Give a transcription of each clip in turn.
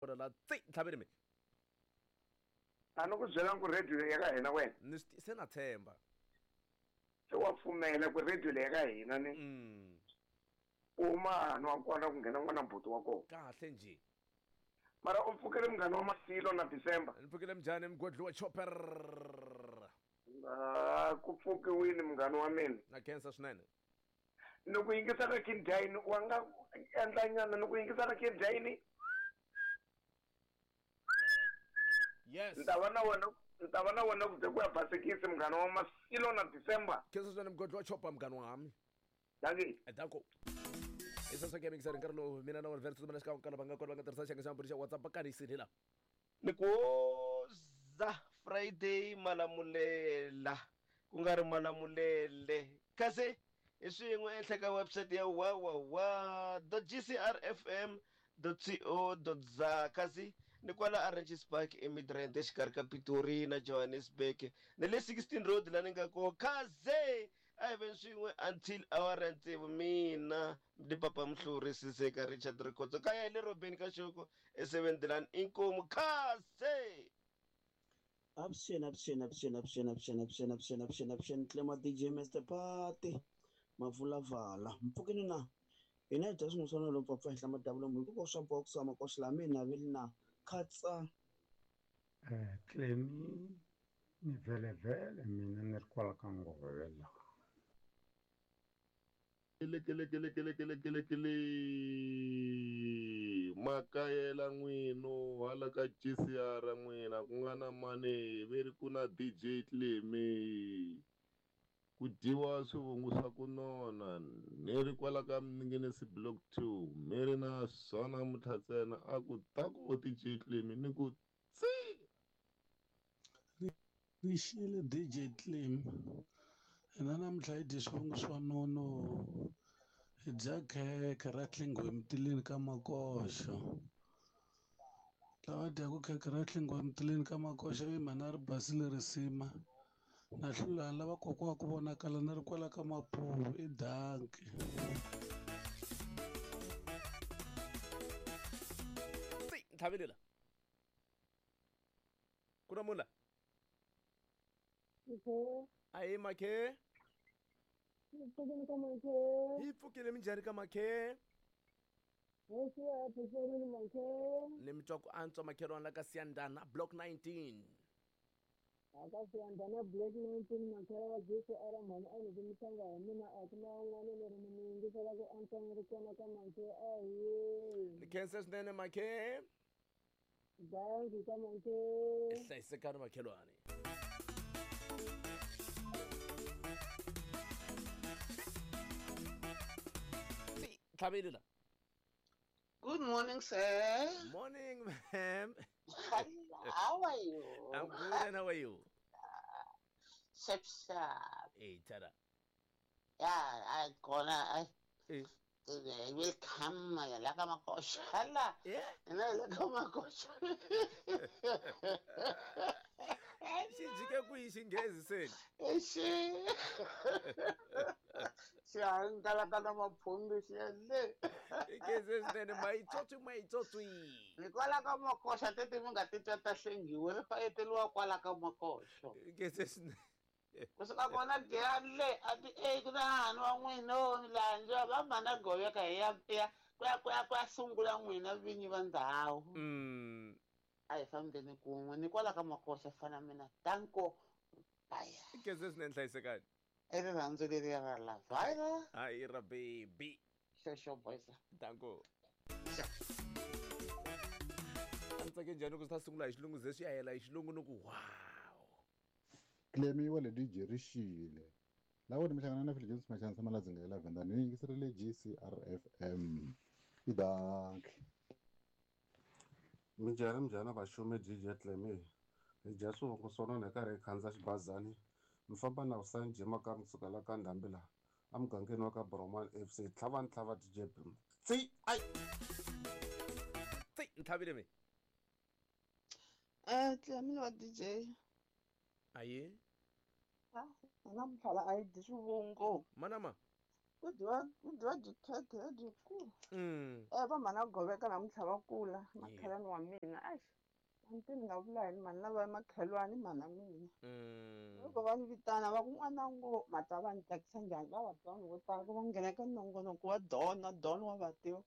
Kona la tsi ntlhaveni mi. A ni ku byela ku radio leyi ya ka hina wena. Ni swi se na tshemba. Se wa pfumela ku radio leyi ya ka hina ni. Ku huma hahani wa kona ku nghena n'wana buti wa kona. Kahle njhe. Mara u pfukile munghana wa Masilo na December. Ni pfukile minjhani mgwedli wa chopper. Ah, ku pfukiwile munghana wa mina. Na khensa swinene. Ni ku yingisa ka King Dine wa nga endla nyana ni ku yingisa ka King Dine. Yes. Ni ta va na wena ni ta va na wena ku ze ku ya basikisi munghana wa Masilo na December. Khensa swinene mgwedli wa chopper munghana wa mi. Dankie. Danko. I sweswo ke mixer nkarhi lowu mina na wena vhele tsutsumela xikan'we ka lava nga kona va nga tirhisa xiyenge xa mbulo xa WhatsApp va kanisile la. Ni ku woza Friday Malamulele ku nga ri Malamulele kasi hi swin'we ehenhla ka website ya www.gcrfm.co.za kasi ni kwala Oranges Park eMidrand exikarhi ka Pitori na Johannesburg ni le 16 Road la ni nga koho kaze a hi veni swin'we until awara ya tsevu mina ni papa Mhluri Siseka Richard Rikhotso kaya hi le Robeni ka Xoko eseventilani inkomu kaze. Avuxeni avuxeni avuxeni avuxeni avuxeni avuxeni avuxeni avuxeni avuxeni Clema DJ Mr Party Mavulavala mpfukeni na hina hi dya swin'we lowu pfapfa henhla madavula munhu ku koxa box wa makoxa la mina veli na khatsa. Clemi ni vhelevhele mina ni ri kwala ka ngove la. Kelekelekelekelekele makayela n'wino hala ka GCR n'wina ku nga na mani ve ri ku na DJ Clemi ku dyiwa swivungu swa ku nona ni ri kwala ka Minginisi Block 2 mi ri na swona namuntlha ntsena a ku ta ku DJ Clemi ni ku tsi. Ri xile DJ Clem hina namuntlha hi dye swivungu swa nono hi dya khekhe ra hlengiwe emitileni ka makoxo lava dyaku khekhe ra hlengiwe emitileni ka makoxo i mhani ri basile risima na hlulani lava kokwa ku vonakala ni ri kwala ka mapuwu i danki. Tsi ntlhavile la ku na munhu la. Ahe makhe. Hi pfukile minjhani ka makhe? Ni mi twa ku antswa makhelwani la ka Siyandhana block 19. Aka Siyandhana block 19 makhela wa GCR mhani a ni mi tlanga hi mina a ku na un'wana leri ni mi yingisela ku antswa ni ri kona ka makhe ahe. Ni khensa swinene makhe. Dankie ka makhe. Hlayisekani makhelwani. Tlhaveli la. Good morning, sir. Morning, ma'am. How are you? I'm good, and how are you? Shap sharp. Hey, Tara. Yeah, I gonna I Eh. I will come la kama koshala. Yeah. La kama koshala. Xi jike kwihi xinghezi se? Xi xi hangalaka maphumbi xi le. Inghezi swinene mayitswotswi mayitswotswi. Hikwalaho ka makoxa teti mi nga titwa ta hlengiwe ri fayeteriwa kwala ka makoxo. Inghezi swinene. Kusuka kona giyani le a ti e ku na hahani wa n'wina landzwa va mana goveka hi ya ya ku ya ku ya ku ya sungula n'wina vinyi va ndhawu. A hi fambeni kun'we ni kwala ka makoxa fana mina danko baya. Inghezi swinene hlayisekani. I rirhandzu leriya ra lavaya. Hayi ra baby. Xexo boys. Danko. A ni tsake njhani ku swi ta sungula hi xilungu ze swi ya hela hi xilungu ni ku wow. Clemi wa le DJ ri xile. Lavo ni mi hlangana na Phil James Machansa Maladzinga ya Lavender ni yingiserile GCRFM. I dankie. Minjhani minjhani vaxumi DJ Clemi. Hi dya swivongo swa nona hi karhi hi khandza xibazani. Mi famba na Hussein Jima ka kusuka la ka Ndhambi la emugangeni wa ka Broman FC. Tlhava ni tlhava DJ Bim. Tsi ai. Tsi ntlhavile mi. Clemi wa DJ. Aye. Ah, namuntlha la a yi dyi swivungu. Manama. Ku dyiwa byikhekhe lebyikulu. Va mhana Goveka namuntlha va kula makhelwani wa mina. Eish, a ni tivi ni nga vula yini mhani lava makhelwani mhana mina. Loko va ni vitana va ku n'wana ngo ma ta va ni tsakisa njhani va va twa vanhu vo tala ku va nghena ka nongonoko wa Dona Don wa va tiva.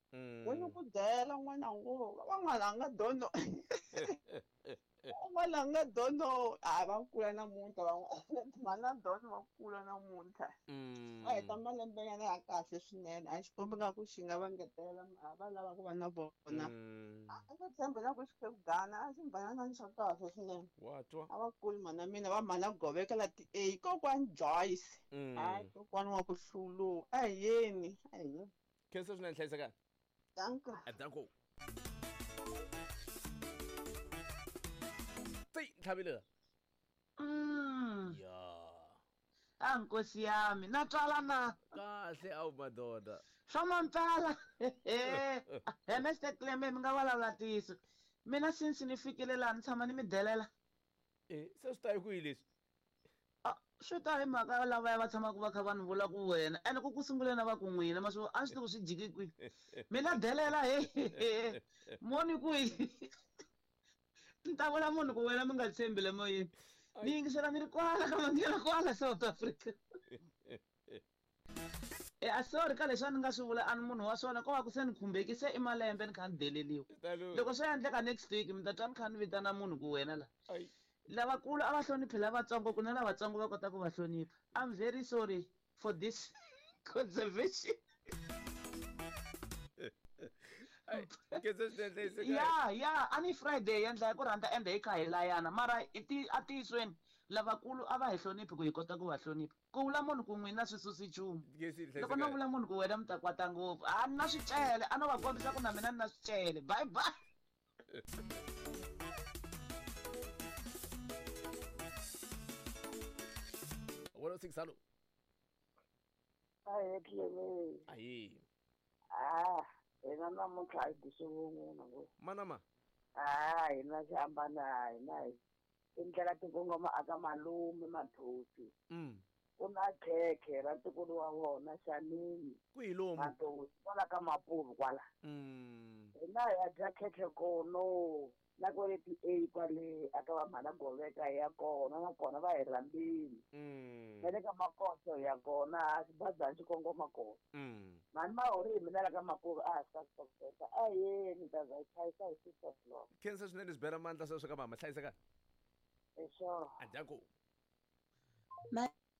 Wo ni ku byela n'wana ngo van'wana a nga dono. Un'wana a nga dono a va kula namuntlha van'wana mhana Don va kula namuntlha. Va heta malembenyana ya kahle swinene a Xikwembu nga ku xi nga va ngetela a va lava ku va na vona. A nga tshembi na ku xikhegana a xi mbanana xa kahle swinene. Wa twa. A va kuli mhana mina va mhana Goveka la ti A kokwani Joyce. Hayi kokwani wa ku hlulu a hi yeni a hi yeni. Khensa swinene hlayisekani. Danko. Danko. Tsi ntlhavile. Ya. A nkosi yami na twala na. Kahle awu madoda. Swa mampela. He Mr Cleme mi nga vulavula ntiyiso. Mina since ni fikile laha ni tshama ni mi delela. Se swi ta hi kwihi leswi? Swi ta hi mhaka lavaya va tshamaka va kha va ni vula ku wena ene ku sunguleni va ku n'wina ma swi a swi tivi ku swi jike kwihi. Mina delela he moni kwihi. Ni ta vula munhu ku wena mi nga tshembi le moyeni. Ni yingisela ni ri kwala ka manghena kwala South Africa. A sorry ka leswi a ni nga swi vula a ni munhu wa swona ko va ku se ni khumbekise i malembe ni kha ni deleliwa. Loko swo endleka next week mi ta twa ni kha ni vitana munhu ku wena la. Lavakulu a va hloniphi lavatsongo ku na lavatsongo va kota ku va hlonipha. I'm very sorry for this conservation. Ya ya a ni Friday endla hi ku rhandza ende hi kha hi layana mara a tiyisweni lavakulu a va hi hloniphi ku hi kota ku va hlonipha. Ku vula munhu ku n'wina swi susi nchumu. Loko no vula munhu ku wena mi ta kwata ngopfu a ni na swicele a no va kombisa ku na mina ni na swicele. Bye bye. One oh six, hello. Ahee Cleme. Ahee. Ah, hina namuntlha a hi dyi swivungu na ngo. Manama. Ah, hina xi hambana hina hi tindlela ti kongoma aka malume Mathosi. Ku na khekhe ra ntukulu wa vona Xanini. Kwihi lomu? Mathosi kwala ka Mapuvu kwala. Hina hi ya dya khekhe kono na kwale ti A kwale aka va mhana Goveka hi ya kona nakona va hi rhambile. Na le ka Makoso hi ya kona xibazana xi kongoma kona. Mhani Mahori hi mina la ka Mapuvu a ha swi ka a yeni ta za hi chayisa hi 6 o'clock. Khensa swinene swi bela mandla sweswo ka mama hlayisekani. Eswo. Adyanku.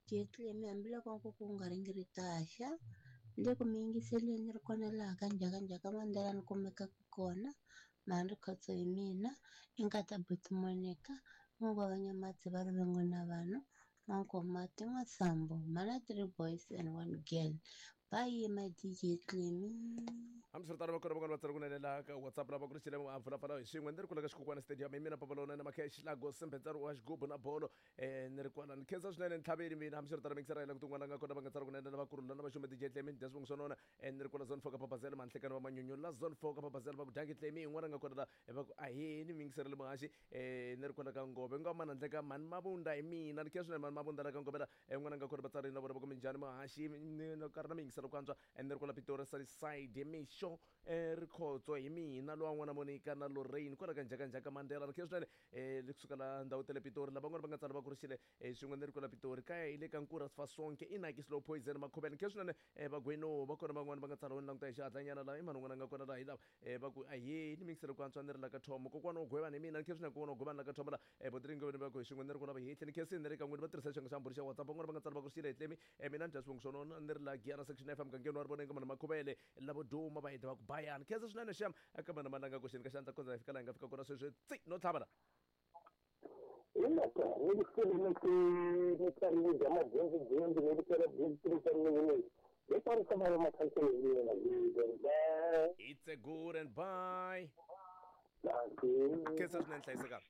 Jetlemi hambiloko ku ku nga ringiritaxa le ku mi yingiseleni ri kona laha ka njhakanjhaka Mandela ni kumekaka kona mhani Rikhotso hi mina i nkata buti Monica n'wa va Nyamatsi va rivengo na vanhu N'wankomati N'wasambo mhana 3 boys and 1 girl. Bye my DJ Clemi. Hambiswiritano va kona van'wana va tsala kunene laha ka WhatsApp lava ku ri xilemo a pfulapfala hi swin'we ni ri kula ka xikukwana stadium hi mina Papalona na Makhesh Lagos Sembetsaro wa xigubu na bolo ni ri kwala ni khensa swinene ni tlhaveli mina hambiswiritano mixera yela ku tin'wana nga kona va nga tsala kunene lavakulu lava xume DJ Clemi dya swivongo swa nona ni ri kwala zone 4 ka Papazela manhlekani va manyunyu la zone 4 ka Papazela va ku dyangi Clemi yin'wana nga kona la va ku ahee ni mingiserele muhaxi ni ri kwala ka Ngove nga mana ndleka mhani Mavunda hi mina ni khensa swinene mhani Mavunda la ka Ngove la n'wana nga kona vatsari na vona va ku minjhani muhaxi ni karhi na mingiselo ku antswa ni ri kwala Pitori Sunnyside mixo Rikhotso hi mina lowa n'wana Monica na Lorraine kwala ka njhakanjhaka Mandela ri khensa swinene kusuka la ndhawu ta le Pitori lavan'wana va nga tsala va kurisile swin'we ni ri kwala Pitori kaya hi le ka Nkura Sifasonke inaki slow poison Makhuvele khensa swinene vagweno va kona van'wana va nga tsala ni languta hi xihatlanyana laha i mani un'wana a nga kona laha hi lava va ku ahee ni mingiselo ku antswa ni ri la ka Thomo kokwana wo gwevana hi mina ni khensa swinene kokwana wo gwevana la ka Thomo la Botringo va ku hi swin'we ni ri kwala vahehli ni khensini ni ri ka n'wini va tirhisa xiyenge xa mbhuri xa WhatsApp van'wana va nga tsala va kurisile hi Clemi mina ni dya swivongo swa nona ni ri la Giyana section FM mugangeni wa Rivoneng ka mana Makhuvele lavo duma va heta va ku bayani khensa swinene xem eka mana Malanga koxeni ka xandla kondza hi fika laha hi nga fika kona sweswi tsi no tlhava la. Hi loko ni ri ni tsariwe bya madyondzo ni ri tsala byi It's a good and bye. Khensa swinene hlayisekani.